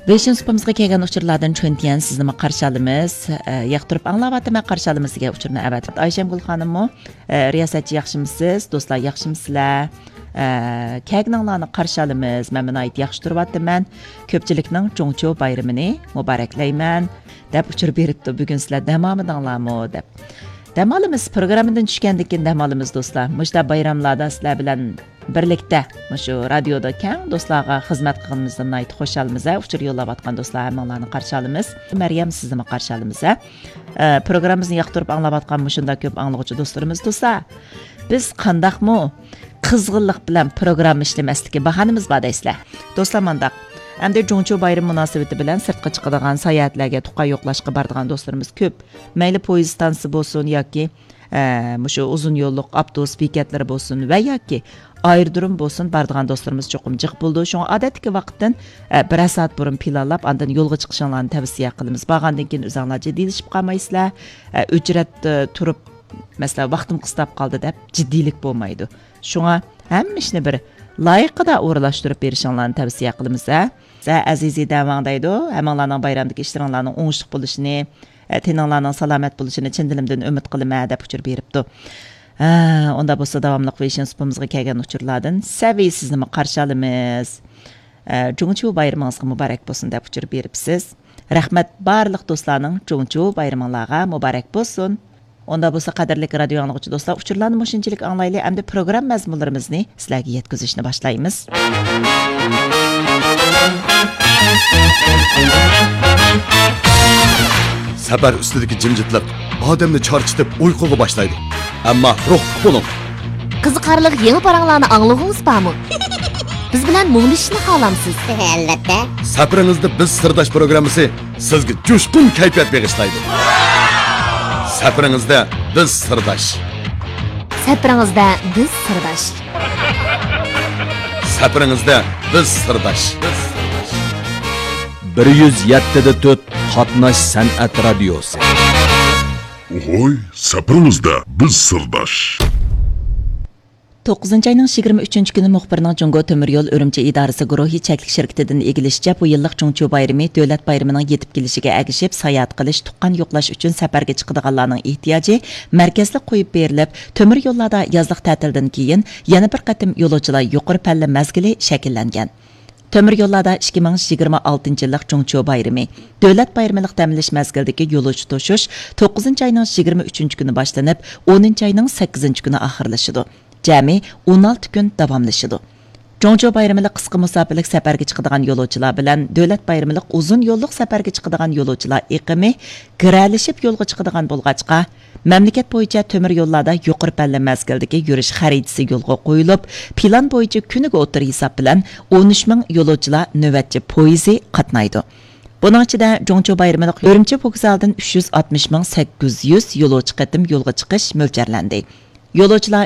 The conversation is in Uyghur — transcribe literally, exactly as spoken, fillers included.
ۋېيشىن سۇپىمىزغا كەلگەن ئۇچۇرلاردىن چۈنتيەن سىزنىمۇ قارشى ئالىمىز. ئە، ياقتۇرۇپ ئاڭلاۋاتىمەن، قارشى ئالىمىز دېگەن ئۇچۇرنى ئەۋەتىپتۇ. ئايشەمگۈل خانىممۇ، ئە، رىياسەتچى ياخشىمۇسىز؟ دوستلار ياخشىمۇسىلەر؟ ئە، كەلگىنىڭلارنى قارشى ئالىمىز. مەنمۇ ناھايىتى ياخشى تۇرۇۋاتىمەن. كۆپچىلىكنىڭ جۇڭچۇ بايرىمىنى مۇبارەكلەيمەن، دەپ ئۇچۇر بېرىپتۇ. بۈگۈن سىلەر دەم ئالمىدىڭلارمۇ؟ دەپ. دەم ئالىمىز، پروگراممىدىن چۈشكەندىن كېيىن دەم ئالىمىز، دوستلار. مۇشۇنداق بايراملاردا سىلەر بىلەن بىرلىكتە مۇشۇ رادىيودا كەڭ دوستلارغا خىزمەت قىلغىنىمىزدىن ناھايىتى خۇشالمىز، ھە، ئۇچۇر يوللاۋاتقان دوستلار ھەممىڭلارنى قارشى ئالىمىز. مەريەم، سىزنىمۇ قارشى ئالىمىز، ھە. ئە، پروگراممىمىزنى ياقتۇرۇپ ئاڭلاۋاتقان مۇشۇنداق كۆپ ئاڭلىغۇچى دوستلىرىمىز تۇرسا، بىز قانداقمۇ قىزغىنلىق بىلەن پروگرامما ئىشلىمەسلىككە باھانىمىز بار دەيسىلەر. دوستلار، مانداق. ئەمدى جۇڭچۇ بايرىمى مۇناسىۋىتى بىلەن سىرتقا چىقىدىغان، ساياھەتلەرگە، تۇغقان يوقلاشقا بارىدىغان دوستلىرىمىز كۆپ. مەيلى پويىز ئىستانسىسى بولسۇن ياكى، ئە، مۇشۇ ئۇزۇن يوللۇق ئاپتوبۇس بېكەتلىرى بولسۇن ۋە ياكى ئايرودروم بولسۇن، بارىدىغان دوستلىرىمىز چوقۇم جىق بولىدۇ. شۇڭا ئادەتتىكى ۋاقىتتىن، ئە، بىرەر سائەت بۇرۇن پىلانلاپ، ئاندىن يولغا چىقىشىڭلارنى تەۋسىيە قىلىمىز. بارغاندىن كېيىن ئۆزۈڭلار جىددىيلىشىپ قالمايسىلەر. ئە، ئۆچرەت، ئە، تۇرۇپ، مەسىلەن، ۋاقتىم قىستاپ قالدى دەپ جىددىيلىك بولمايدۇ. شۇڭا ھەممە ئىشنى بىر لايىقىدا ئورۇنلاشتۇرۇپ بېرىشىڭلارنى تەۋسىيە قىلىمىز، ھە. سە ئەزىزى دەۋاڭ دەيدۇ، ھەممىڭلارنىڭ بايرامدىكى ئىشلىرىڭلارنىڭ ئوڭۇشلۇق بولۇشىنى، ئە، تېنىڭلارنىڭ سالامەت بولۇشىنى چىن دىلىمدىن ئۈمىد قىلىمەن، دەپ ئۇچۇر بېرىپتۇ. ھە، ئۇندا بولسا داۋاملىق ۋېيشىن سۇپىمىزغا كەلگەن ئۇچۇرلاردىن سەۋىي سىزنىمۇ قارشى ئالىمىز. ئە، جۇڭچۇ بايرىمىڭىزغا مۇبارەك بولسۇن، دەپ ئۇچۇر بېرىپسىز. رەھمەت، بارلىق دوستلارنىڭ جۇڭچۇ بايرىمىڭلارغا مۇبارەك بولسۇن. ئۇندا بولسا، قەدىرلىك رادىيو ئاڭلىغۇچى دوستلار، ئۇچۇرلارنى مۇشۇنچىلىك ئاڭلايلى، ئەمدى پروگرامما مەزمۇنلىرىمىزنى سىلەرگە يەتكۈزۈشنى باشلايمىز. سەپەر ئۈستىدىكى جىمجىتلىق ئادەمنى چارچىتىپ ئۇيقۇغا باشلايدۇ. ئەمما روھلۇق بولۇڭ. قىزىقارلىق يېڭى پاراڭلارنى ئاڭلىغۇڭىز بارمۇ؟ بىز بىلەن مۇڭدىشىشنى خالامسىز؟ ئەلۋەتتە. سەپىرىڭىزدە بىز سىرداش پروگراممىسى سىزگە جۇشقۇن كەيپىيات بېغىشلايدۇ. سەپىرىڭىزدە بىز سىرداش. سەپىرىڭىزدە بىز سىرداش. سەپىرىڭىزدە بىز سىرداش. بىر يۈز يەتتە دە تۆت قاتناش سەنئەت رادىيوسى. ھوي، سەپىرىڭىزدە بىز سىرداش. توققۇزىنچى ئاينىڭ يىگىرمە ئۈچىنچى كۈنى مۇخبىرنىڭ جۇڭگو تۆمۈر يول ئۈرۈمچى ئىدارىسى گۇرۇھى چەكلىك شىركىتىدىن ئىگىلىشىچە، بۇ يىللىق جۇڭچۇ بايرىمى دۆلەت بايرىمىنىڭ يېتىپ كېلىشىگە ئەگىشىپ، ساياھەت قىلىش، تۇغقان يوقلاش ئۈچۈن سەپەرگە چىقىدىغانلارنىڭ ئېھتىياجى مەركەزلىك قويۇپ بېرىلىپ، تۆمۈر يوللاردا يازلىق تەتىلدىن كېيىن يەنە بىر قېتىم يولۇچىلار يۇقىرى پەللە مەزگىلى شەكىللەنگەن. تۆمۈر يوللاردا ئىككى مىڭ يىگىرمە ئالتىنچى يىللىق جۇڭچۇ بايرىمى، دۆلەت بايرىملىق دەم ئېلىش مەزگىلىدىكى يولۇچى توشۇش توققۇزىنچى ئاينىڭ يىگىرمە ئۈچىنچى كۈنى باشلىنىپ، ئونىنچى ئاينىڭ سەككىزىنچى كۈنى ئاخىرلىشىدۇ. جەمئىي ئون ئالتە كۈن داۋاملىشىدۇ. جۇڭچۇ بايرىملىق قىسقا مۇساپىلىك سەپەرگە چىقىدىغان يولۇچىلار بىلەن دۆلەت بايرىملىق ئۇزۇن يوللۇق سەپەرگە چىقىدىغان يولۇچىلار ئېقىمى گىرەلىشىپ يولغا چىقىدىغان بولغاچقا، مەملىكەت بويىچە تۆمۈر يوللاردا يۇقىرى پەللە مەزگىلدىكى يۈرۈش خەرىتىسى يولغا قويۇلۇپ، پىلان بويىچە كۈنىگە ئوتتۇرا ھېساب بىلەن ئون ئۈچ مىڭ يولۇچىلار نۆۋەتچى پويىزى قاتنايدۇ. بۇنىڭ ئىچىدە جۇڭچۇ بايرىملىق ئۈرۈمچى ۋوگزالىدىن ئۈچ يۈز ئاتمىش مىڭ سەككىز يۈز يولۇچى قېتىم يولغا چىقىش مۆلچەرلەندى. يولۇچىلار